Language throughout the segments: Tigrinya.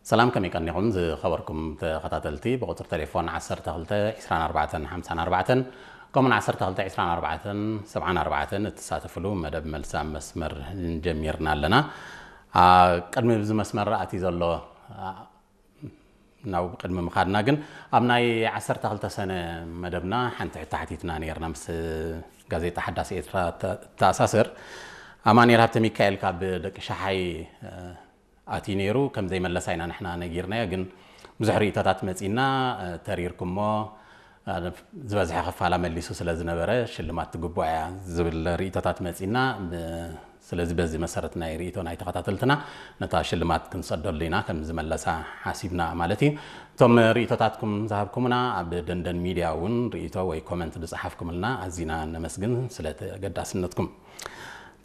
ሰላም፣ ከመይ ቀኒኹም ዝኸበርኩም ተኸታተልቲ? ብቁጽሪ ቴሌፎን ዓሰርተ ክልተ ዕስራን ኣርባዕተን ሓምሳን ኣርባዕተን ከምኡን ዓሰርተ ክልተ ዕስራን ኣርባዕተን ሰብዓን ኣርባዕተን እትሳተፍሉ መደብ መልሲ ኣብ መስመር ጀሚርና ኣለና። ኣ፣ ቅድሚ እዚ መስመር ኣትዩ ዘሎ፣ ኣ፣ ናብ ቅድሚ ምኻድና ግን ኣብ ናይ ዓሰርተ ክልተ ሰነ መደብና ሓንቲ ሕቶ ሓቲትና ነይርና ምስ ጋዜጣ ሓዳስ ኤርትራ ተ-፣ ተኣሳስር። ኣማኑኤል ሃብተ ሚካኤል ካብ ደቂ ሸሓይ፣ እ፣ ኣትዩ ነይሩ፣ ከም ዘይመለሳ ኢና ንሕና ነጊርናዮ፣ ግን ብዙሕ ርእይቶታት መጺና፣ እ፣ ተሪርኩሞ፣ እ፣ ዝበዝሐ ክፋላ መሊሱ ስለ ዝነበረ ሽልማት ትግብኦ እያ ዝብል ርእይቶታት መጺና፣ ብ-፣ ስለዚ በዚ መሰረት ናይ ርእይቶ ናይ ተኸታተልትና ነታ ሽልማት ክንሰደሉ ኢና፣ ከም ዝመለሳ ሓሲብና ማለት እዩ። እቶም ርእይቶታትኩም ዝሃብኩምና ኣብ ደንደን ሚድያ እውን ርእይቶ ወይ ኮመንት ዝጸሓፍኩምልና ኣዚና ነመስግን ስለ ተገዳስነትኩም።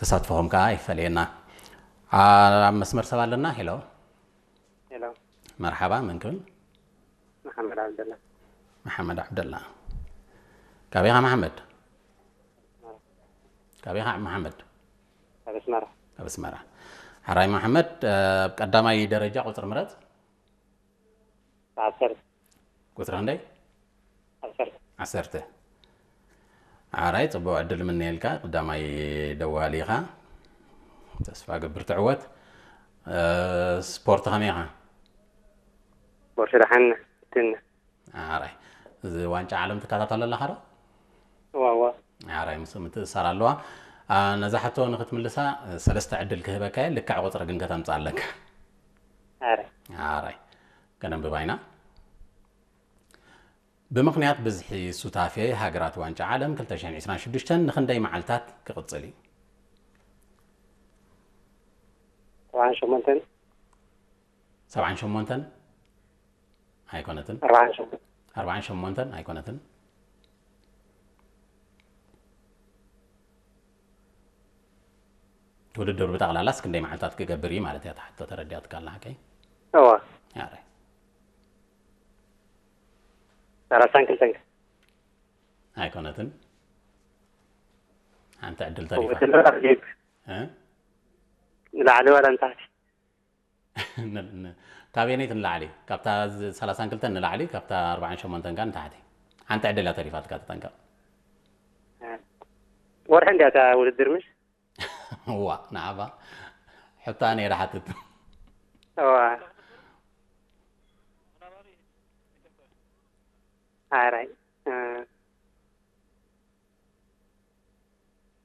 ተሳትፎኹም ከኣ ይፈለየና። ኣብ መስመር ሰብ ኣለና። ሄሎ። ሄሎ። መርሓባ፣ መን ክብል? መሓመድ ዓብደላ። መሓመድ ዓብደላ። ካበይ ኢኻ መሓመድ? ካበይ ኢኻ መሓመድ? ካብ ኣስመራ። ካብ ኣስመራ። ሓራይ መሓመድ፣ ኣብ ቀዳማይ ደረጃ ቁጽሪ ምረጽ። ዓሰርተ። ቁጽሪ ክንደይ? ዓሰርተ። ዓሰርተ። ዓራይ፣ ጽቡቕ ዕድል ምነየልካ። ቀዳማይ ደዋሊ ኢኻ። ተስፋ ገብር ትዕወት። እ፣ ስፖርት ከመይ ኢኻ? ስፖርት ደሓን፣ ትነ። ዓራይ። እዚ ዋንጫ ዓለም ትከታተሎ ኣለኻ ዶ? እዋ፣ እዋ። ዓራይ፣ ምስ ምትእሳር ኣለዋ። ኣ፣ ነዛ ሕቶ ንኽትምልሳ፣ እ፣ ሰለስተ ዕድል ክህበካ እየ። ልክዕ ቁጽሪ ግን ከተምጽእ ኣለካ። ዓራይ። ዓራይ። ከነንብባ ኢና። ብምኽንያት ብዝሒ ሱታፌ ሃገራት ዋንጫ ዓለም ክልተ ሽሕን ዕስራን ሽዱሽተን ንኽንደይ መዓልታት ክቕጽል እዩ? ሰብዓን ሸሞንተን። ሰብዓን ሸሞንተን ኣይኮነትን። ኣርባዓን ሸሞንተን። ኣርባዓን ሸሞንተን ኣይኮነትን። ውድድር ብጠቕላላስ ክንደይ መዓልታት ክገብር እዩ ማለት እያ እታ ሕቶ፣ ተረዲኣትካ ኣላ ሓቀይ? እዋ። ኣረ። ሰላሳን ክልተን። ኣይኮነትን። ሓንቲ ዕድል ተሪፋ። ውድድር ኣርጌት። እ? ንላዕሊ ዋላ ንታሕቲ? ን-፣ ን-፣ ካበየነይቲ ንላዕሊ? ካብታ ዝ-፣ ሰላሳን ክልተን ንላዕሊ፣ ካብታ ኣርባዓን ሸሞንተን ከኣ ንታሕቲ። ሓንቲ ዕድል እያ ተሪፋትካ፣ ተጠንቀቕ። ወርሒ እንድያ እታ ውድድር፣ ምሽ? እዋ፣ ንዓባ ሕቶ ኣነ እየ ዝሓትት። እዋ። ኣራይ፣ እ፣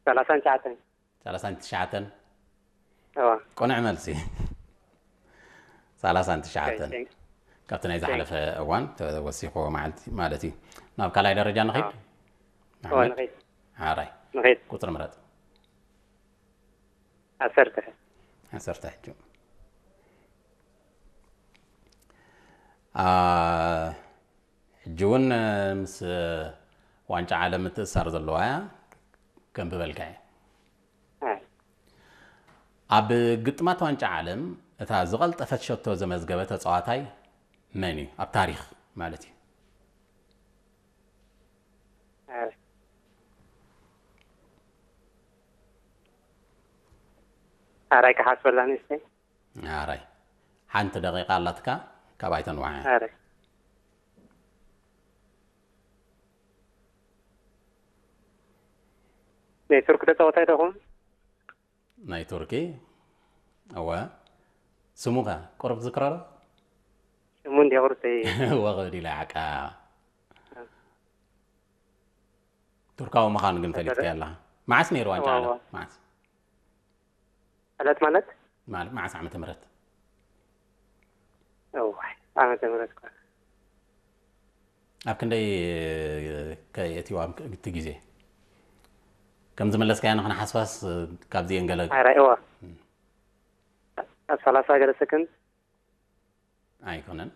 ሰላሳን ትሽዓተን። ሰላሳን ትሽዓተን? እዋ። ቅኑዕ መልሲ። ሰላሳን ትሽዓተን። ኦኬ፣ ቴንክ። ካብቲ ናይ ቴንክ። ዝሓለፈ እዋን ተወሲኽዎ መዓልቲ ማለት እዩ። ናብ ካልኣይ ደረጃ ንኸይድ? ኣዎ። እዋ፣ መሓመድ? ንኸይድ። ሓራይ። ንኸይድ። ቁጽሪ ምረጥ። ዓሰርተ። ዓሰርተ ሕጂ። ኣ፣ ሕጂ እውን፣ እ፣ ምስ፣ እ፣ ዋንጫ ዓለም ምትእሳር ዘለዋ እያ። ከንብበልካ እየ። እ። ኣብ ግጥማት ዋንጫ ዓለም እታ ዝቐልጠፈት ሸቶ ዘመዝገበ ተጻዋታይ መን እዩ? ኣብ ታሪኽ ማለት እዩ። እ። ኣራይ ክሓስበላ ንእሽተይ። ኣራይ። ሓንቲ ደቂቃ ኣላትካ፣ ካብ ኣይተንውሓ። ኣራይ። ናይ ቱርክ ተጻዋታይ ዶ ይኸውን? ናይ ቱርኪ? እወ። ስሙ ከ ቁሩብ ትዝክሮ ዶ? ስሙ እንድያ ቁሩብ ተይ- እወ፣ ክብል ኢለ ዓቃ። ቱርካዊ ምዃኑ ግን ፈሊጥካዮ ኣለኻ። መዓስ ነይሩ ዋንጫ እወ፣ ዓለም? እወ። መዓስ? ዕለት ማለት? ማል-፣ መዓስ ዓመተ ምህረት? እዋይ፣ ዓመተ ምህረት እኳ። ኣብ ክንደይ ከ የእትዋ እቲ ግዜ? ከም ዝመለስካዮ ንኽንሓስባስ ካብዚኤን ገለ ኣራይ፣ እዋ። እም። ኣብ ሰላሳ ገለ ሰከንድ። ኣይኮነን።